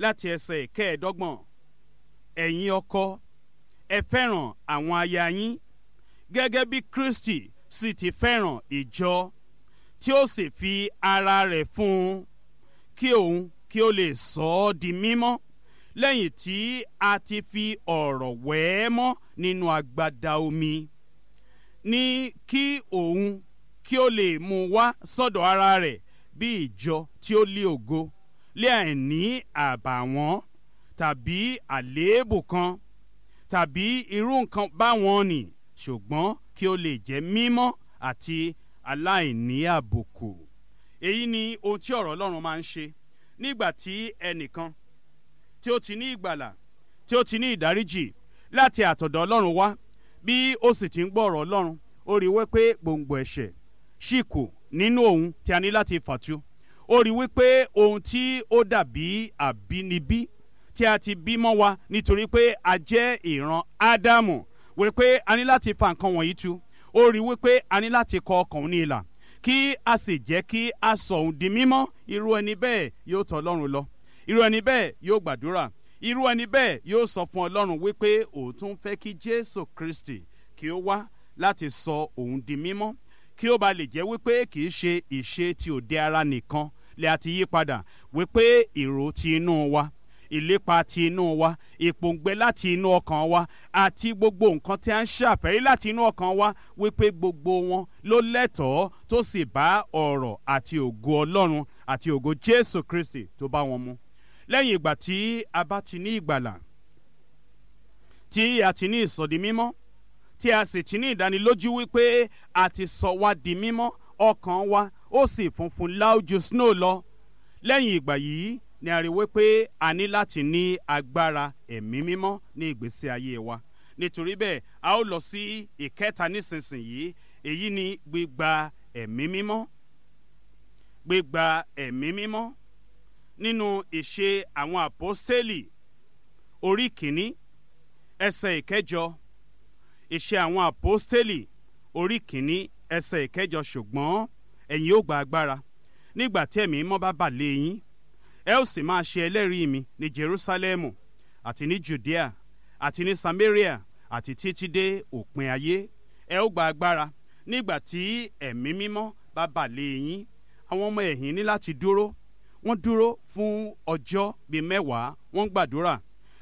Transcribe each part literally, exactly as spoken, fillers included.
láti ẹsẹ̀ ìkẹẹ̀ẹ́dọ́gbọ̀n. Ẹ̀yin ọkọ, ẹ fẹ́ràn àwọn aya yín gẹ́gẹ́ bí Kristi sì ti fẹ́ràn ìjọ, tí ó sì fi ara rẹ̀ fún un, kí òun kí ó lè sọ ọ́ di mímọ́, lẹ́yìn tí a ti fi ọ̀rọ̀ wẹ̀ ẹ́ mọ́ nínú agbada omi, ní kí òun kí ó lè mú wá sọ́dọ̀ ara rẹ̀ bí ìjọ tí ó lé ògo, lé àìní àbàwọ́n tàbí àléébù kan tàbí irú nǹkan báwọn nì, ṣùgbọ́n kí ó lè jẹ́ mímọ́ àti aláìní àbùkù. Èyí ni ohun tí ọ̀rọ̀ Ọlọ́run máa ń ṣe nígbà tí ẹnìkan tí ó ti ní ìgbàlà, tí ó ti ní ìdáríjì láti àtọ̀dọ̀ Ọlọ́run wá, bí ó sì ti ń gbọ́ ọ̀rọ̀ Ọlọ́run, ó rí wípé gbòǹgbò ẹ̀ṣẹ̀ ṣì kù nínú òun tí a ní láti fàtu. Ó rí wípé ohun tí ó dàbí àbínibí tí a ti bí mọ́ wa nítorí pé a jẹ́ ìran Ádámù, wípé a ní láti fa nǹkan wọ̀nyí tu. Ó rí wípé a ní láti kọ ọkàn òun ní ìlà, kí a sì jẹ́ kí a sọ òun di mímọ́. Irú ẹni bẹ́ẹ̀ yóò tọ̀ Ọlọ́run lọ, irú ẹni bẹ́ẹ̀ yóò gbàdúrà, irú ẹni bẹ́ẹ̀ yóò sọ fún Ọlọ́run wípé òun tún fẹ́ kí Jésù Kristi kí ó wá láti sọ òun di mímọ́, kí ó ba lè jẹ́ wípé kì í ṣe ìṣe ti òde ara nìkan lè àti yí padà, wípé èrò ti inú wa, ìlépa ti inú wa, ìpòǹgbẹ láti inú ọkàn wa, àti gbogbo nǹkan tí a ń ṣàfẹ́rí láti inú ọkàn wa, wípé gbogbo wọn ló lẹ́tọ̀ọ́ tó sì bá ọ̀rọ̀ àti ògo Ọlọ́run àti ògo Jésù Kristi tó bá wọn mu. Lẹ́yìn ìgbà tí a bá ti ní ìgbàlà, tí a ti ní ìsọdi mímọ́, tí a sì ti ní ìdánilójú wípé a ti sọ wá di mímọ́, ọkàn wa ó sì funfun láójú snow lọ. Lẹ́yìn ìgbà yìí ni a rí wípé a ní láti ní agbára ẹ̀mí mímọ́ ní ìgbésí ayé wa. Nítorí bẹ́ẹ̀, a ó lọ sí ìkẹta nísinsìnyí. Èyí ni gbígba ẹ̀mí mímọ́. Gbígba ẹ̀mí mímọ́ nínú ìṣe àwọn àpọ́stélì orí kìíní ẹsẹ̀ ìkẹjọ. Ìṣe àwọn àpọ́stélì orí kìíní ẹsẹ̀ ìkẹjọ. Ṣùgbọ́n ẹ̀yin ó gba agbára nígbà tí ẹ̀mí mímọ́ bá bà lé yín, ẹ ó sì máa ṣe ẹlẹ́rìí mi ní Jerúsálẹ́mù àti ní Judea àti ní Samaria àti títí dé òpin ayé. Ẹ ó gba agbára nígbà tí ẹ̀mí mímọ́ bá bà lé yín. Àwọn ọmọ ẹ̀yìn ní láti dúró. Wọ́n dúró fún ọjọ́ bíi mẹ́wàá, wọ́n gbàdúrà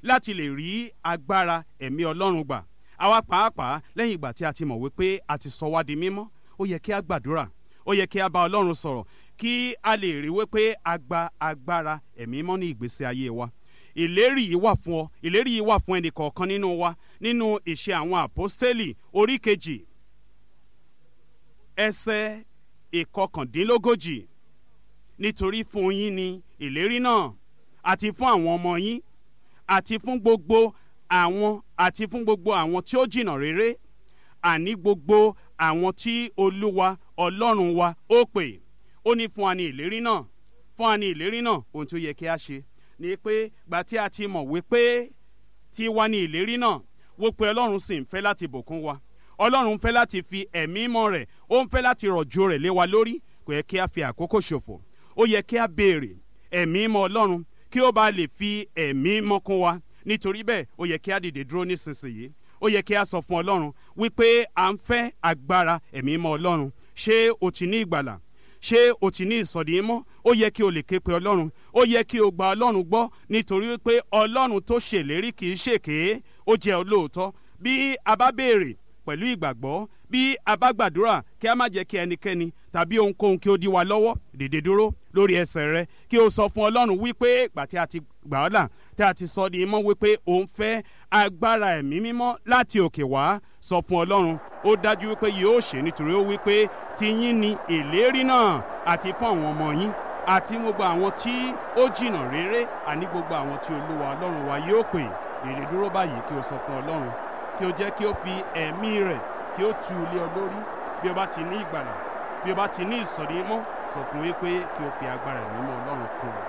láti lè rí agbára ẹ̀mí Ọlọ́run gbà. Àwa pàápàá lẹ́yìn ìgbà tí a ti mọ̀ wípé a ti sọ wá di mímọ́, ó yẹ kí a gbàdúrà, ó yẹ kí a bá Ọlọ́run sọ̀rọ̀, kí a lè rí wípé a gba agbára ẹ̀mí mọ́ ní ìgbésí ayé wa. Ìlérí yìí wà fún ọ, ìlérí yìí wà fún ẹnì kọ̀ọ̀kan nínú wa nínú ìṣe àwọn àpọ́stélì orí kejì ẹsẹ̀ ìkọkàndínlógójì. Nítorí fún yín ni ìlérí náà, àti fún àwọn ọmọ yín, àti fún gbogbo àwọn àti fún gbogbo àwọn tí ó jìnnà réré, àní gbogbo àwọn tí Olúwa Ọlọ́run wa ó pè. Ó ní fún wa ní ìlérí náà, fún wa ní ìlérí náà. Ohun tí ó yẹ kí a ṣe ni pé gbà tí a ti mọ̀ wípé tí wa ní ìlérí náà, wípé Ọlọ́run sì ń fẹ́ láti bùkún wa, Ọlọ́run ń fẹ́ láti fi ẹ̀mí mọ́ rẹ̀, ó ń fẹ́ láti rọ̀jò rẹ̀ lé wa lórí, kò yẹ kí a fi àkókò ṣòfò. Ó yẹ kí a béèrè ẹ̀mí mọ́ Ọlọ́run kí ó bá lè fi ẹ̀mí mọ́ kún wa. Nítorí bẹ́ẹ̀, ó yẹ kí a dìde dúró nísinsìnyí. Ó yẹ kí a sọ fún Ọlọ́run wípé à ń fẹ́ agbára ẹ̀mí mọ́ Ọlọ́run. Ṣé o ti ní ìgbàlà? Ṣé o ti ní ìsọ̀dí mọ́? Ó yẹ kí o lè ké pe Ọlọ́run. Ó yẹ kí o gba Ọlọ́run gbọ́, nítorí wípé Ọlọ́run tó ṣèlérí kì í ṣèké, ó jẹ́ olóòótọ́. Bí a bá béèrè pẹ̀lú ìgbàgbọ́, bí a bá gbàdúrà, kí a má jẹ́ kí ẹnikẹ́ni tàbí ohunkóhun kí ó dí wa lọ́wọ́. Dìde dúró lórí ẹsẹ̀ rẹ, kí o sọ fún Ọlọ́run wípé ìgbà tí a ti gbà ọ́ là, tí a ti sọ di mímọ́, wípé o ń fẹ́ agbára ẹ̀mí mímọ́ láti òkè wá. Sọ fún Ọlọ́run, ó dájú wípé yóò ṣe, nítorí ó wípé tiyín ni ìlérí náà, àti fún àwọn ọmọ yín, àti gbogbo àwọn tí ó jìnnà réré, àní gbogbo àwọn tí Olúwa Ọlọ́run wa yóò pè. Dìde dúró báyìí kí o sọ fún Ọlọ́run, kí o jẹ́ kí ó fi ẹ̀mí rẹ̀ kí ó tu ilé ọ lórí. Bí o bá ti ní ìgbàlà, bí o bá ti ní ìsọ̀rí mọ́, sọ fún wípé kí o fi agbára ẹ̀mí mọ́ Ọlọ́run kún un.